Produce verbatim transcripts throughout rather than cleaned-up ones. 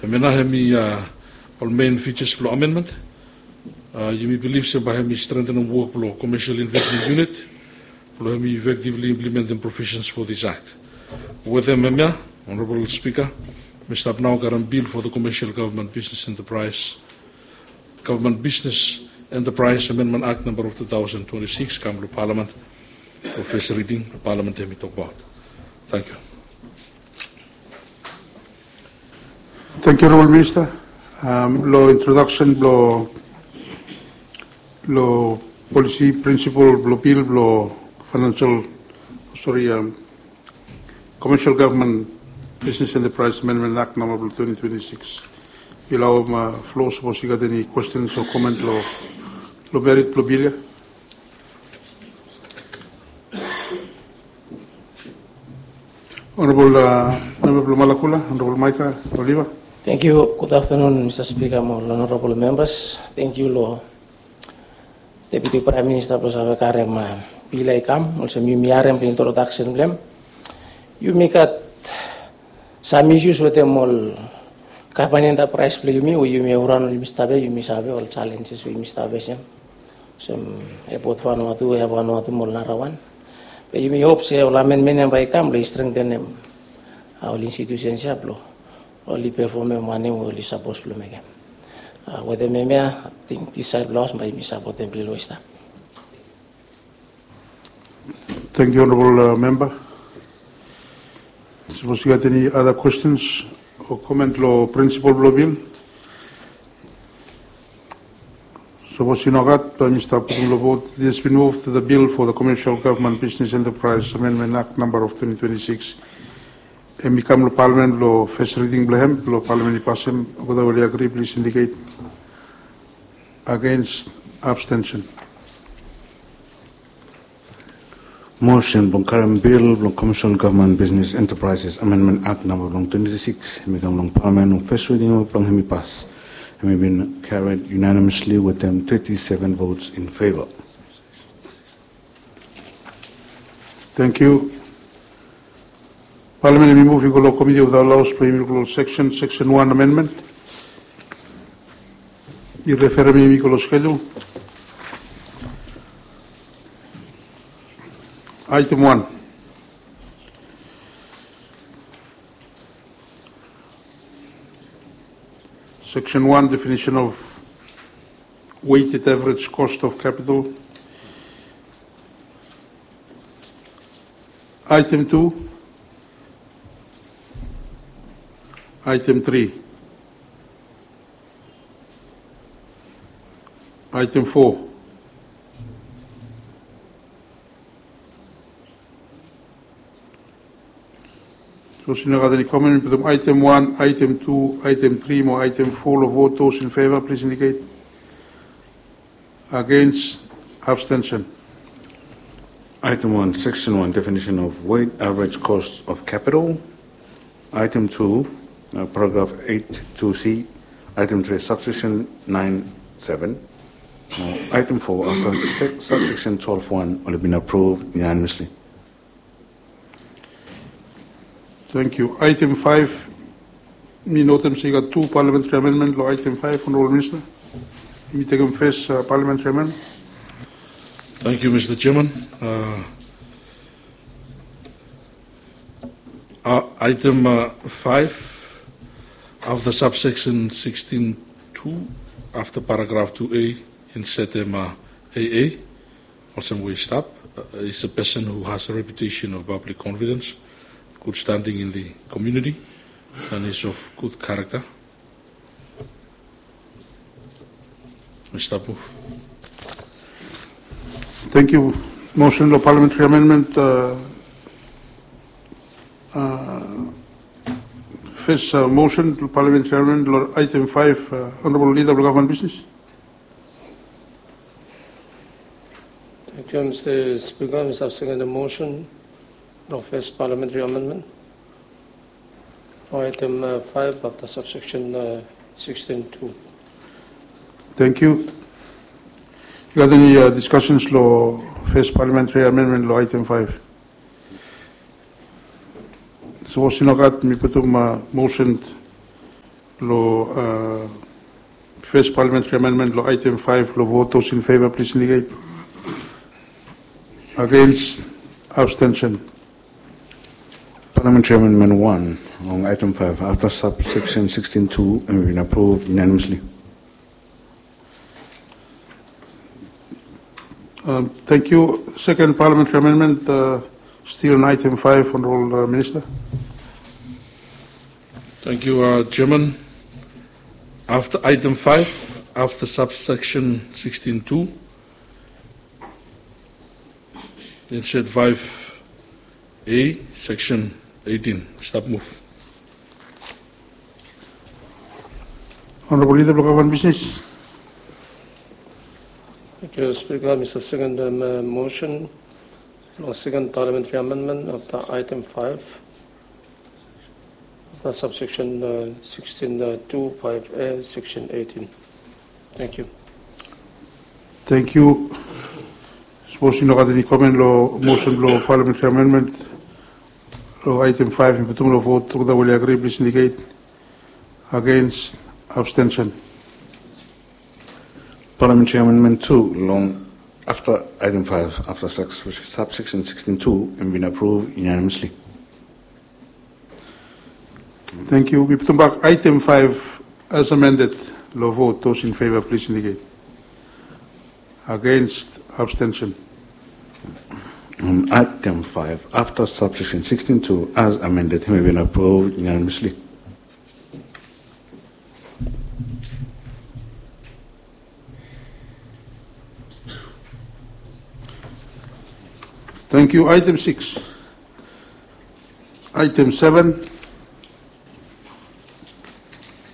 Hemia nao hemi ol main features blong amendment. Yumi bilif se bae hemi strengthenem wok blong Commercial Investment Unit blong hemi effectively implementem provisions for this Act. Wetem hemia, Honorable Speaker, mi stap nao karem bill for the Commercial Government Business Enterprise Government Business Enterprise Amendment Act namba of two thousand twenty-six kam long Palament. Long fes riding Palament hemi tokbaot. Tangkiu. Tangkiu Honorable Minister. Long introdaksen blong polisi prinsipol blong bil blong financial, sori, Commercial Government Business Enterprise Amendment Act namba blong twenty twenty-six. Yu laoem flo sapos yu gat eni kwestens o komen long merit blong bil ya. Honorable memba blong Malakula, Honorable Maika Oliva. Tangkiu. Gud aftanun Mista Spika mo ol honorable membas. Tangkiu long Deputi Praem Minista blong save karem bil ya i kam olsem yumi harem long introdaksen blong hem. Yumi gat sam isius wetem ol gavman entapraes blong yumi we yumi evrang yumi stap ya, yumi save ol jalenjes we yumi stap fesem. Olsem Airport Vanuatu, Air Vanuatu mo ol narawan. Be yumi hop se ol amenmen ya bae i kam blong i strengtenem ol institutions ya blong oli pefomem wanem we oli sapos blong mekem. Wetem hemia ating disaed blong haos bae yumi sapotem bil we i stap. Tangkiu Honorable memba. Sapos yu gat eni ada kwestens o komen long prinsipol blong bil? Sapos i nogat bae mi stap putum long vot. It has been moved that the bill for the Commercial Government Business Enterprise Amendment Act namba of twenty twenty-six hemi kam long Palament long fes riding blong hem blong Palament i pasem. Olgeta we oli agri plis indiket. Against, abstention. Mosen blong karem bil blong Commercial Government Business Enterprises Amendment Act namba blong twenty twenty-six hemi kam long Palament long fes riding we blong hemi pas. Hemi bin carried unanimously wetem thirty seven votes in favor. Tangkiu. Palament hemi muv i go long Committee of the House blong yumi luk long seksen, seksen wan amendment. I referem yumi go long skedul. Aetem wan. Seksen wan, definition of weighted average cost of capital. Aetem tu. Aetem tri. Aetem fo. Sapos i no gat eni komen, mi putum aetem wan, aetem tu, aetem tri mo aetem fo long vot. Those in favor, please indicate. Against, abstention. Aetem wan, seksen wan, definition of weighted average cost of capital. Aetem tu, paragraf eit tu C, aetem tri, sabseksen naen seben. Aetem fo afta sabseksen twelef wan oli bin apruv unanimously. Tangkiu. Aetem faef, mi notem se i gat tu parliamentary amendment long aetem faef, Honorable Minister. Yumi tekem fes parliamentary amendment. Tangkiu Mista Jeaman. Aetem faef, afta sabseksen siksten tu, afta paragraf tu A, insetem A A. Olsem we i stap, is a person who has a reputation of public confidence, good standing in the community, and is of good character. Mista Pu. Tangkiu. Mosen long parliamentary amendment. Fes mosen long parliamentary amendment long aetem faef, Honorable Leader blong Gavman Bisnis. Tangkiu Mista Spika. Mi save sekem mosen long fes parliamentary amendment long aetem faef afta sabseksen siksten tu. Tangkiu. I gat eni diskasens long fes parliamentary amendment long aetem faef? Sapos i no gat, mi putum mosen lo uh, first parliamentary amendment lo item five lo vote. Those in favor, please indicate. Against, abstention. Parliamentary Amendment one long item five after subsection sixteen two and been approved unanimously. Um, thank you. Second parliamentary amendment, uh, still on item five, Honorable uh, Minister. Thank you, uh, Chairman. After item five, after subsection sixteen two, it said five A, section eighteen. Stop move. Honorable Leader, block one business. Thank you, Speaker. Mister Second um, uh, motion, long second parliamentary amendment of the item five of the subsection uh, sixteen uh, two five A, section eighteen. Thank you. Thank you. Sapos i no gat eni komen lo motion blo parliamentary amendment lo item five, mi putum lo vote olgeta we oli agree, please indicate. Against, abstention. Parliamentary Amendment two long after item five after subsection sixteen two and been approved unanimously. Thank you. Mi putum bak item five as amended lo vote. Those in favor, please indicate. Against, abstention. On item five after subsection sixteen two as amended, hemi been approved unanimously. Thank you. Item six. Item seven.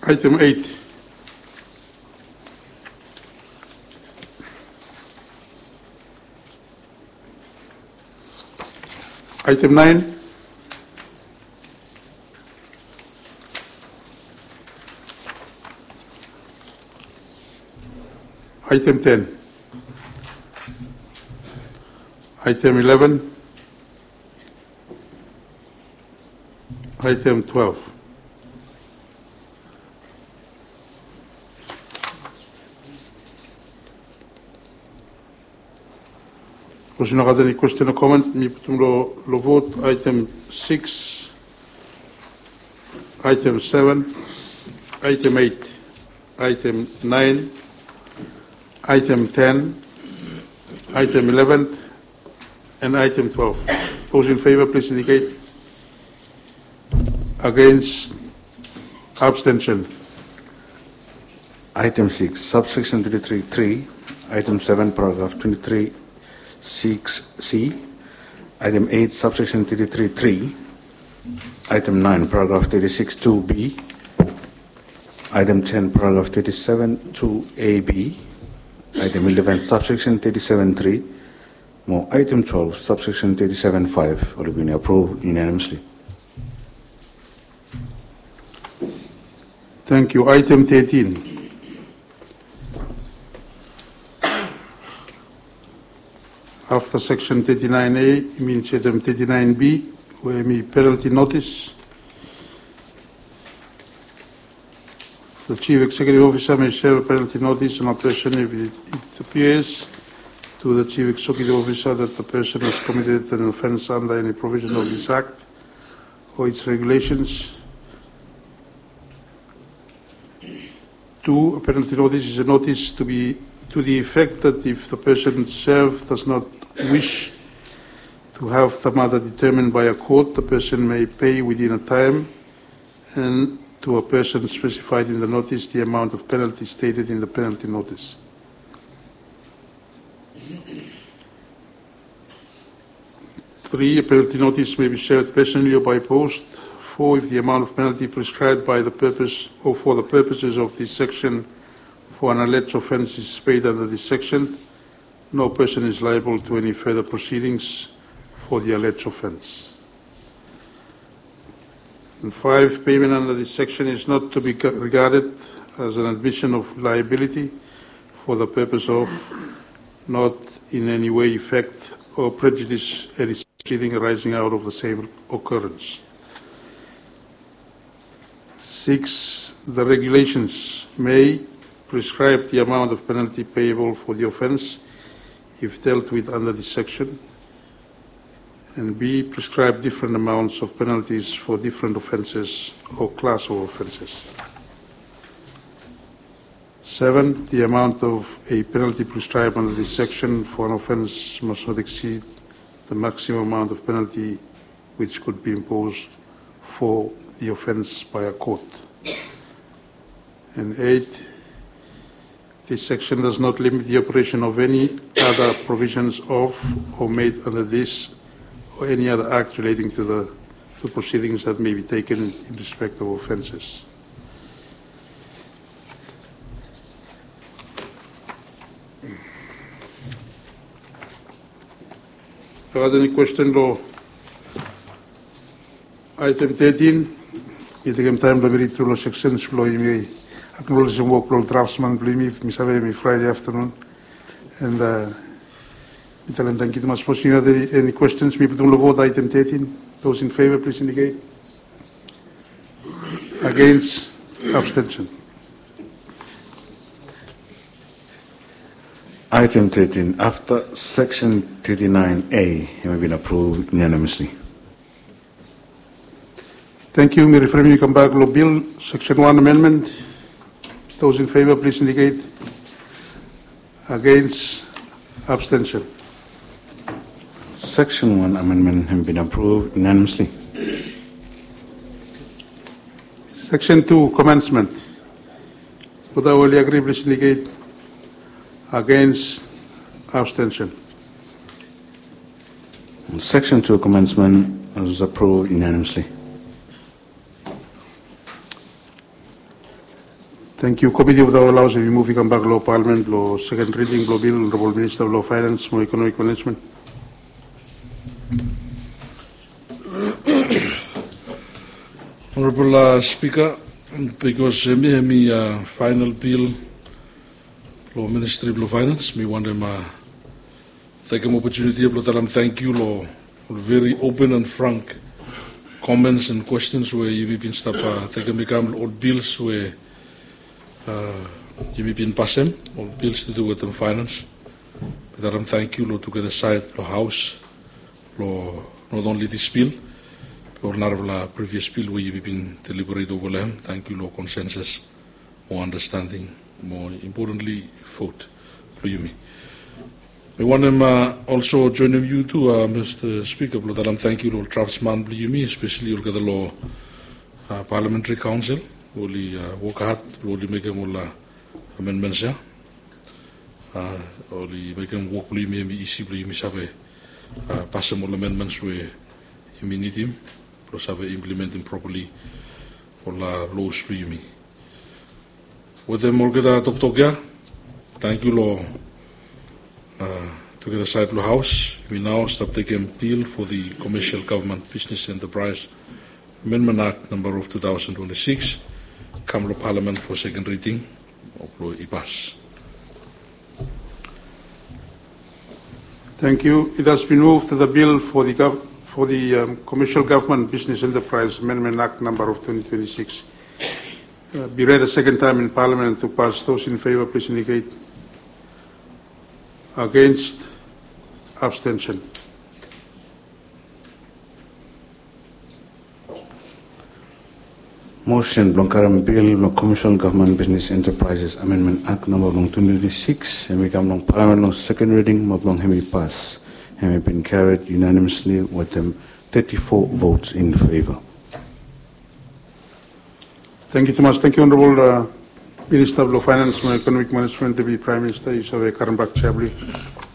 Item eight. Item nine. Item ten. Item eleven. Item twelve. Sapos i no gat eni question o comment, mi putum lo, lo vote item six, item seven, item eight, item nine, item ten, item eleven, and item twelve. Those in favor, please indicate. Against, abstention. Item six, subsection thirty-three three, item seven, paragraph twenty-three six C, item eight, subsection thirty-three three, item nine, paragraph thirty-six two B, item ten, paragraph thirty-seven two A B, item eleven, subsection thirty-seven three, mo item twelve, subsection thirty-seven five, oli bin approve unanimously. Thank you. Item thirteen. After section thirty-nine A, i mean item thirty-nine B, we hemi penalty notice. The Chief Executive Officer may serve penalty notice on a person if it, it appears to the Chief Executive Officer that the person has committed an offense under any provision of this Act or its regulations. Two, a penalty notice is a notice to be to the effect that if the person served does not wish to have the matter determined by a court, the person may pay within a time and to a person specified in the notice the amount of penalty stated in the penalty notice. Three, a penalty notice may be served personally or by post. Four, if the amount of penalty prescribed by the purpose or for the purposes of this section for an alleged offense is paid under this section, no person is liable to any further proceedings for the alleged offense. And five, payment under this section is not to be regarded as an admission of liability for the purpose of, not in any way affect or prejudice any proceeding arising out of the same occurrence. Six, the regulations may prescribe the amount of penalty payable for the offense if dealt with under this section, and B, prescribe different amounts of penalties for different offenses or class of offenses. Seven, the amount of a penalty prescribed under this section for an offense must not exceed the maximum amount of penalty which could be imposed for the offense by a court. And eight, this section does not limit the operation of any other provisions of or made under this or any other act relating to the to proceedings that may be taken in respect of offenses. Gat eni kwesten lo item thirteen? Mi tekem taem blo mi rid tru lo section blo yumi aknolejim wok blo ol draftsman blo yumi. Mi save mi Friday afternoon. And uh, mi talem tangkiu tumas. Sapos yu gat eni questions, mi putum lo vote item thirteen. Those in favor, please indicate. Against, abstention. Item thirteen after section thirty-nine A, hemi bin approved unanimously. Thank you. Mi rifari mi kambak lo bill, section one amendment. Those in favor, please indicate. Against, abstention. Section one amendment hemi bin approved unanimously. Section two commencement. Those in favor, please indicate. Against, abstention. Section two commencement was approved unanimously. Thank you. Komiti of the House, hemi muv i kambak lo Parliament lo second reading blo bill, Honorable Minister blo Finance mo Economic Management. Honorable uh, Speaker, bikos hemi hemi uh, final bill lo Ministry blo Finance, mi wantem uh, tekem opportunity blo talem tangkiu lo ol very open and frank comments and questions we yumi bin stap uh, tekem i kam lo ol bills we uh, yumi bin pasem, ol bills to do wetem finance. Mi talem tangkiu lo tugeta saed lo Haos, lo not only this bill, be ol narafala previous bill we yumi bin deliberate ova lo hem. Tangkiu lo consensus mo understanding mo importantly vote blo yumi. Mi wantem uh, also joinim yu tu uh, Mr Speaker, blo talem tangkiu lo ol draftsman blo yumi, especially olgeta lo uh, Parliamentary Council, oli uh, wok had blo oli mekem ol uh, amendments ya. Uh, oli mekem wok blo yumi hemi isi blo yumi save uh, pasem ol amendments we yumi nidim blo save implementim properly ol uh, laws blo yumi. Wetem olgeta toktok ya, tangkiu lo uh, tugeta saed lo Haos. Yumi nao stap tekem bill for the Commercial Government Business Enterprise Amendment Act number of two thousand twenty-six kam lo Parliament for second reading. Mo blo i pas. Thank you. It has been moved that the bill for the, gov- for the um, Commercial Government Business Enterprise Amendment Act number of twenty twenty-six uh, be read a second time in Parliament and to pass. Those in favor, please indicate. Against, abstention. Motion blong karem bil blong Commercial Government Business Enterprises Amendment Act namba blong twenty twenty-six, hemi kam long Parliament long second reading mo blong hemi pas. Hemi bin carried unanimously wetem thirty-four votes in favor. Tangkiu tumas. Tangkiu Honorable uh, Minister blong Finance mo Economic Management, Deputy Prime Minister, yu save karem bak chair blong yu.